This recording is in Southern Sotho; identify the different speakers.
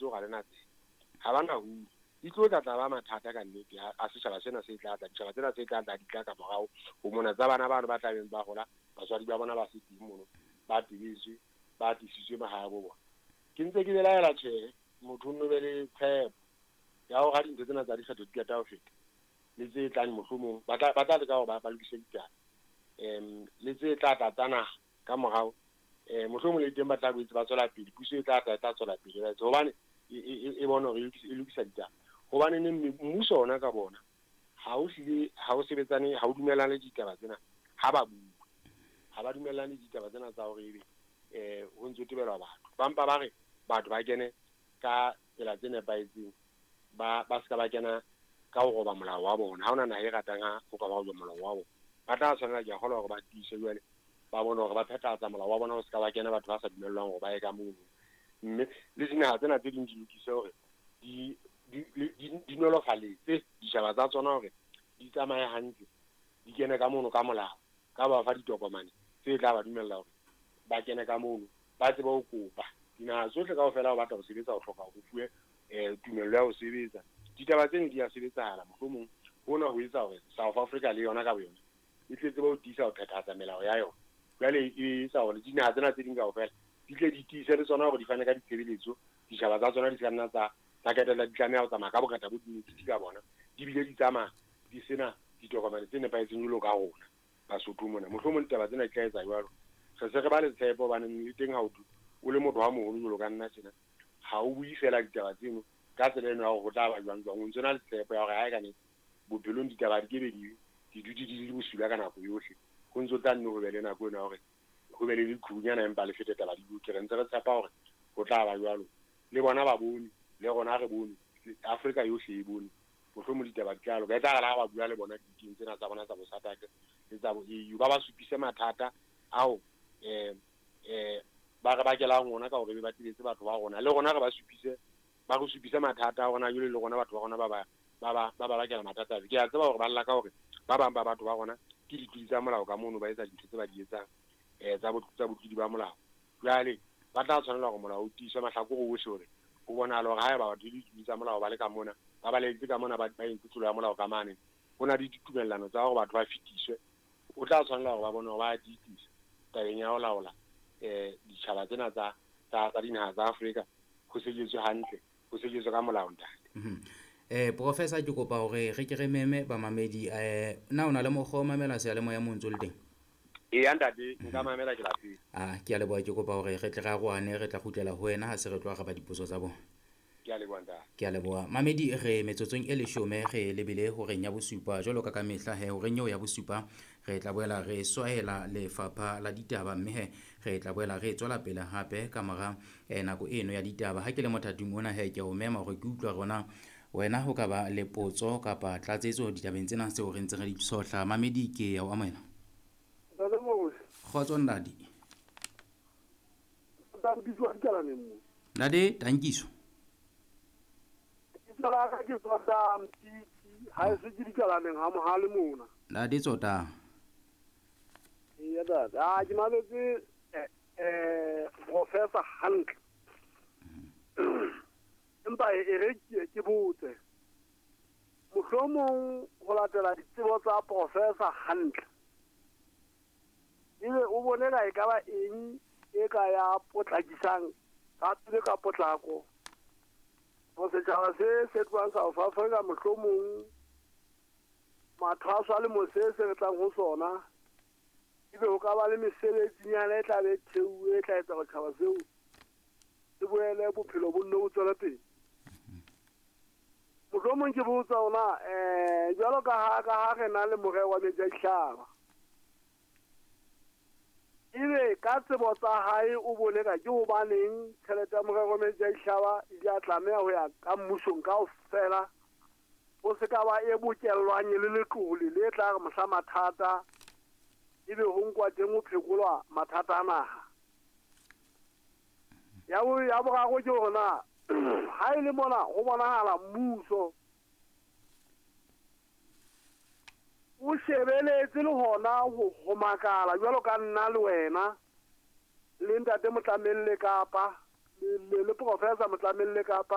Speaker 1: Hore ha le na tsebe, ha ba na ruri di tlo tla tla ba mathata ka nnete. A setjhaba sena se tla tla, ditjhaba tsena tse tla tla di tla ka morao ho mona tsa bana bano ba tlabeng ba hola, batswadi ba bona ba se teng mono, ba tebetswe, ba tlisitswe mahae a bo bona. Ke ntse ke belaela, tjhe, motho o nno be le tshepo ya hore ha dintho tsena tsa dikgetho di qeta ho feta le tse tlang, mohlomong ba tla leka hore ba lokise ditaba, le tse tla tla tsa naha ka morao, mohlomong le teng ba tla boetse ba tswela pele. Puso e tla tla e tla tswela pele ba etse hobane e bone hore e lokisa ditaba, hobane neng mmuso ona ka bona ha o hlile ha o sebetsane, ha o dumellane le ditaba tsena. Ha ba bue, ha ba dumellane le ditaba tsena tsa hore ebe ho ntso tebelwa batho, ba mpa ba re batho ba kene ka tsela tse nepahetseng, ba seka ba kena ka ho roba molao wa bona. Ha hona naha e ratang ha ho ka ba roba molao wa bona. Ba tla tshwanela, ke a kgolwa, hore ba tiise jwale, ba bone hore ba phethahatsa molao wa bona, ho seka ba kena batho ba sa dumellwang hore ba ye ka mono. Mme le dinaha tsena tse ding di lokise hore di nolofaletse ditjhaba tsa tsona hore di tsamaye hantle, di kene ka mono ka molao, ka ba fa ditokomane tse tla ba dumella hore ba kene ka mono, ba tsebe ho kopa. Dinaha tsohle kaofela ho batla ho sebetsa, ho hloka hore o fuwe tumello ya ho sebetsa. Ditaba tseno di a sebetsahala. Mohlomong hona ho etsa hore South Africa le yona ka boyona e tle tsebe ho tiisa ho phethahatsa melao ya yona. Jwale e etsa hore dinaha tsena tse ding kaofela di tle di tiise le tsona hore di fane ka ditshebeletso, ditjhaba tsa tsona di se ka nna tsa qetella di tlameha ho tsamaya ka bongata bo dinotiti ka bona, di bile di tsamaya di sena ditokomane tse nepahetseng jwalo ka rona Basotho mona. Mohlomong ditaba tsena di tla etsa jwalo. Re se re ba le tshepo, hobane le teng ha o o le motho wa moholo jwalo ka nna tjena, ha o bue fela ditaba tseno ka tsela eno ya hore ho tla ba jwang jwang. O ntso na le tshepo ya hore ha e ka nnete bophelong ditaba di kebe di dutse di le bosula ka nako yohle, ho ntso tla nne ho be le nako eno ya hore ho be le leqhubunyana, empa le fete, taba di loke. Re ntse re tshepa hore ho tla ba jwalo. Le bona ba bone, le rona re bone, Afrika yohle e bone, mohlomong ditaba di tla loka. E tla re ha ba bua le bona diting tsena tsa bona tsa bo SADC le tsa bo AU, ba ba supise mathata ao ba re bakelang ona ka hore be ba tebetse batho ba rona. Le rona re ba supise, ba re supise mathata a rona jwale, le rona batho ba rona ba bakela mathata. Ke a tseba hore ba lla ka hore ba bang ba batho ba rona ke ditlodi tsa molao ka mono, ba etsa dintho tse ba di etsang tsa botlodi ba molao. Jwale ba tla tshwanela hore molao o tiiswe mahlakore ohle, hore ho bonahala hore haeba batho le ditlodi tsa molao ba le ka mona, ba balehetse ka mona, ba entse tlolo ya molao ka mane, ho na le ditumellano tsa hore batho ba fetiswe. O tla tshwanela hore ba bone hore ba tiisa tabeng ya ho laola ditjhaba tsena tsa dinaha tsa Afrika, ho sebetswe hantle, ho sebetswe ka molao, ntate.
Speaker 2: Professor, ke kopa hore re ke re meme bamamedi. Na o na le mokgwa o mamela seyalemoya mo ntso le teng?
Speaker 1: Eya ntate, nka mamela ke lapeng.
Speaker 2: Ah, ke a leboha. Ke kopa hore re tle re arohane, re tla kgutlela ho wena ha se re tlo araba dipotso tsa bona.
Speaker 1: Ke a leboha, ntate.
Speaker 2: Ke a leboha. Mamedi, re metsotsong e 10 re lebile horeng ya bosupa. Jwalo ka mehla he, horeng eo ya bosupa re tla boela re swahela lefapha la ditaba, mme he re tla boela re tswela pele hape ka mora nako eno ya ditaba. Ha ke le mothating ona he, ke a o mema hore ke utlwa rona wena ho ka ba le potso kapa tlatsetso ditabeng tsena tseo re ntseng re di tshohla. Mamedi, ke ya o amohela.
Speaker 3: Ntate Moruti.
Speaker 2: Kgotso, ntate.
Speaker 3: Tankiso dikalaneng mo.
Speaker 2: Ntate Tankiso.
Speaker 3: Lebitso la ka ke Tsota Mtiti, ha e se ke dikalaneng ha mohale mona.
Speaker 2: Ntate Tsota.
Speaker 3: Eya ntate, ah, ke mametse professor hantle. Empa e re ke botse. Mohlomong ho latela ditsebo tsa professor hantle, ebe o bone ka e ka ba eng e ka ya potlakisang ka pele ka potlako ho setjhaba se se tlohang South Africa, mohlomong mathwaso a lemo se se re tlang ho sona, ebe ho ka ba le mesebetsinyana e tla be theuwe e tla etsa hore tjhaba seo se boele bophelo bo nne bo tswele pele. Mohlomong ke botsa ona, jwalo ka ha re na le morero wa metsi a dihlaba, ebe ka tsebo tsa hae o bone ka ke hobaneng tjhelete ya morero wa metsi a dihlaba e ile a tlameha ho ya ka mmusong kaofela, ho se ka ba e bokellwang e le letlole le tla re mohla mathata ebe ho nkwa teng ho phekolwa mathata a naha? Ya boraro ke hore na ha e le mona ho bonahala mmuso o shebeletse le hona ho makala jwalo ka nna le wena le ntate Motlamelle kapa le professor Motlamelle kapa